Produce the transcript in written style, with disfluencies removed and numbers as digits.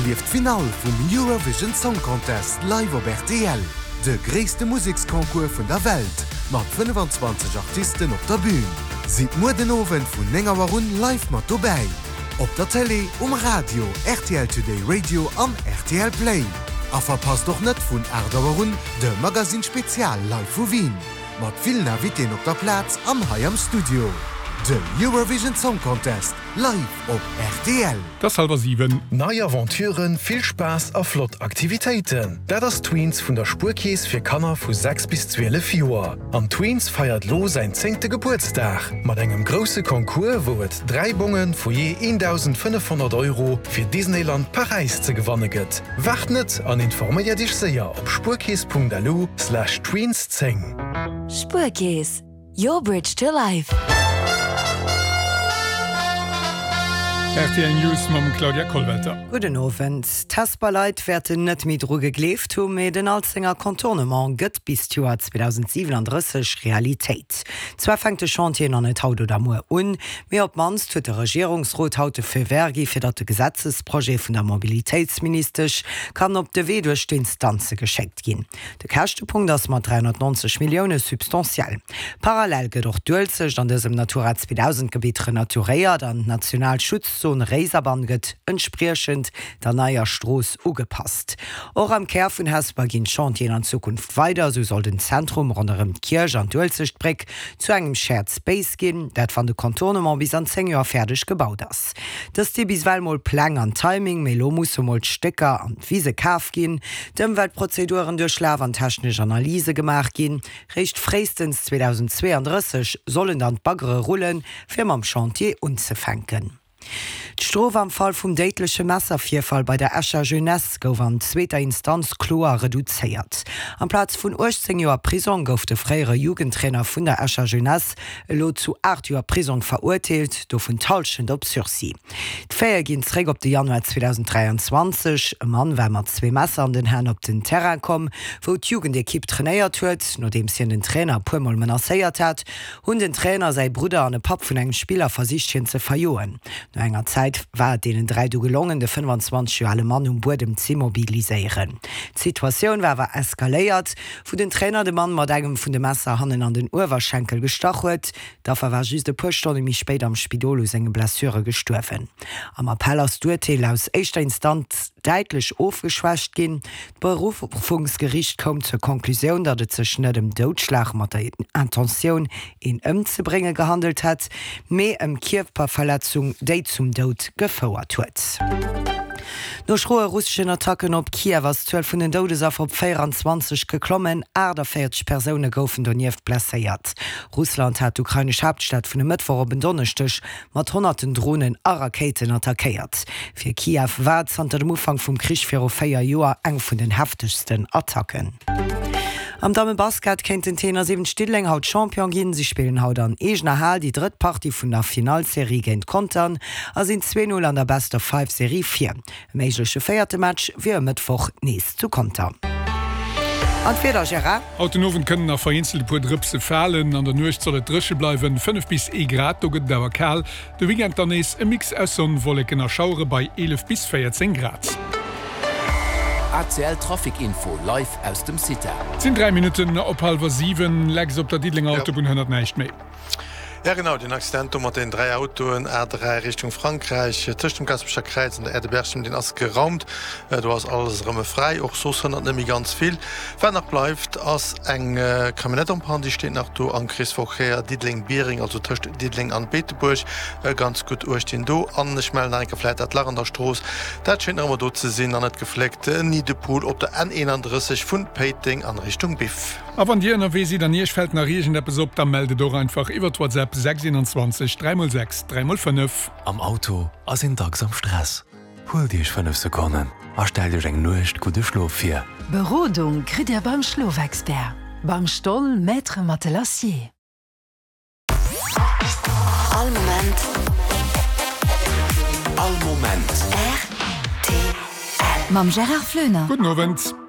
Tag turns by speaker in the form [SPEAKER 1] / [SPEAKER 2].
[SPEAKER 1] Erlieft d'Finall vum Eurovision Song Contest live op rtl, de gréisste Museksconcours vun der Welt mat 25 Artisten op der Bün. Sidd muer den Owend vun 9 Auer un live mat dobäi, op der Télé, um Radio, rtl Today Radio an rtl Play. A verpasst och net vun 8 Auer un de Magazine Spezial live vu Wien, mat villen Invitéen op der Plaz an hei am Studio. De Eurovision Song Contest live op rtl.
[SPEAKER 2] Et ass hallwer 7.
[SPEAKER 3] Nei Aventuren, vill Spaass a flott Aktivitéiten, dat ass Tweens vun der Spuerkeess fir Kanner vu 6 bis 12 Joer. An Tweens feiert lo säin zéngte Gebuertsdag mat engem grousse Concours, wou et 3 Bonge vu jee 1.500 Euro fir Disneyland Paräis ze gewanne gëtt. Waart net an informéiert iech séier op spuerkeess.lu slash tweens 10.
[SPEAKER 4] Spuerkeess, Your bridge to life.
[SPEAKER 2] Rtl News mam Claudia Kollwelter.
[SPEAKER 5] Gudden Owend. D'Hesper Leit wäerten net méi dru gegleeft hu, mee den Alzenger Contournement gëtt bis d'Joer 2037 Realitéit. Zwar fänkt de Chantier nach net haut oder muer un, mee op d'mannst huet de Regierungsrot haut de Feu vert gi fir datt de Gesetzesprojet vun der Mobilitéitsministesch kann op de Wee duerch d'Instanze geschéckt ginn. De Käschtepunkt ass mat 390 Millioune substantiell. Parallel gëtt och d'Uelzecht an dësem Natura 2000 Gebitt renaturéiert an d'national Schutzzon Réiserbann gëtt entspriechend der neier Strooss ugepasst. Och am Kär vun Hesper ginn d'Chantieren an Zukunft weider. Esou soll den Zentrum ronderëm d'Kierch an d'Uelzechtbréck zu engem Shared Space ginn, dat wann de Contournement bis an 10 Joer fäerdeg gebaut ass. Dëst si bis ewell mol Pläng an Timing, mee elo musse mol d'Stécker an d'Wise kaf ginn, d'Ëmweltprozeduren duerchlaf an technesch Analyse gemaach ginn. Réischt fréistens 2032 sollen dann d'Baggere rullen, fir mam Chantier unzefänken. D'Strof am Fall vum déidleche Messervirfall bei der Escher Jeunesse gouf an zweeter Instanz kloer reduzéiert. Amplaz vun 18 Joer Prisong gouf de fréiere Jugendtrainer vun der Escher Jeunesse elo zu 8 Joer Prisong verurteelt, dovun d'Hallschent op Sursis. D'Faite ginn zeréck op de Januar 2023. E Mann war mat zwee Messer an den Hänn op den Terrain komm, wou d'Jugendekipp trainéiert huet. Nodeems hien den Trainer e puer Mol menacéiert hat, hunn den Trainer, säi Brudder an e Papp vun engem Spiller versicht hien ze verjoen. No enger Zäit war et deenen 3 du gelongen, de 25 Joer ale Mann um Buedem z'immobiliséieren. D'Situatioun war awer eskaléiert, wou den Trainer de Mann mat engem vun de Messer hannen an den Uewerschenkel gestach huet. D'Affer war just e puer Stonne méi spéit am Spidol u senge Blessure gestuerwen. Am Appell ass d'Urteel aus éischter Instanz däitlech ofgeschwächt ginn. D'Beruffungsgeriicht koum zur Conclusioun, datt et sech net ëm Doudschlag mat der Intentioun, een ëmzebrénge gehandelt hätt, mee ëm Kierperverletzung, déi zum Doud gefouert huet. No schroe russeschen Attacken op Kiew ass d'Zuel vun den Doudesaffer op 24 geklommen. 48 Persoune goufen donieft blesséiert. Russland hat d'ukrainesch Haaptstad vun e Mëttwoch op en Donneschdeg mat honnerten Dronen a Rakéiten attackéiert. Fir Kiew war et zanter dem Ufank vum Krich viru 4 Joer eng vun den heftegsten Attacken. Am Dammebasket kéint den T71 Diddeleng haut Champion ginn. Si spillen haut an eegener Hal déi drëtt Partie vun der Finallserie géint Contern a sinn 2, 0 an der Best-of-Five-Serie vir. E méigleche véierte Match wier e Mëttwoch nees zu Conter. An d'Wieder, Gérard?
[SPEAKER 2] Haut den Owend kënnen nach vereenzelt e puer Drëpse falen. An der Nuecht soll et dréche bleiwen, 5 bis ee Grad, do gëtt et awer kal. De Weekend dann nees e Mix aus Sonn, Wolleken a Schauere bei 11 bis 14 Grad.
[SPEAKER 6] ACL Trafic Info live aus dem CITA.
[SPEAKER 2] Et sinn 3 Minutten op hallwer 7. Lex, op der Diddelenger Autobunn hënnert näischt méi.
[SPEAKER 7] Ja genau, deen Accident do mat den 3 Autoen, A3 Richtung Frankräich, tëscht dem Gaasperecher Kräiz an der Aire de Berchem, deen ass geraumt. Do ass alles erëm fräi. Och soss hënnert net méi ganz vill. Wat nach bleift ass eng Camionnette en panne, déi steet nach do am Kreesverkéier Diddeleng-Biereng, also tëscht Diddeleng an Beetebuerg. Ganz gutt uecht deen do. An ech mellen nach eng Kéier vläit dat Lach an der Strooss, dat schéngt nach ëmmer do ze sinn an net gefléckt, Niddepool op der N31 vun Péiteng an Richtung Biff.
[SPEAKER 2] A wann dir ënnerwee sidd an iech fält nach iergendeppes op, da mellt et och einfach iwwert WhatsApp 6 21 3 x 6 3 x 5.
[SPEAKER 8] Am Auto ass een dacks am Stress. Huelt Iech 5 Sekonnen a stellt Iech eng Nuecht gudde Schlof vir.
[SPEAKER 9] Berodung kritt Dir beim Schlofexpert, beim Stoll Maître Matelassier.
[SPEAKER 4] All Moment.
[SPEAKER 6] All Moment.
[SPEAKER 4] Rtl. Mam Gérard Floener.
[SPEAKER 2] Gudden Owend.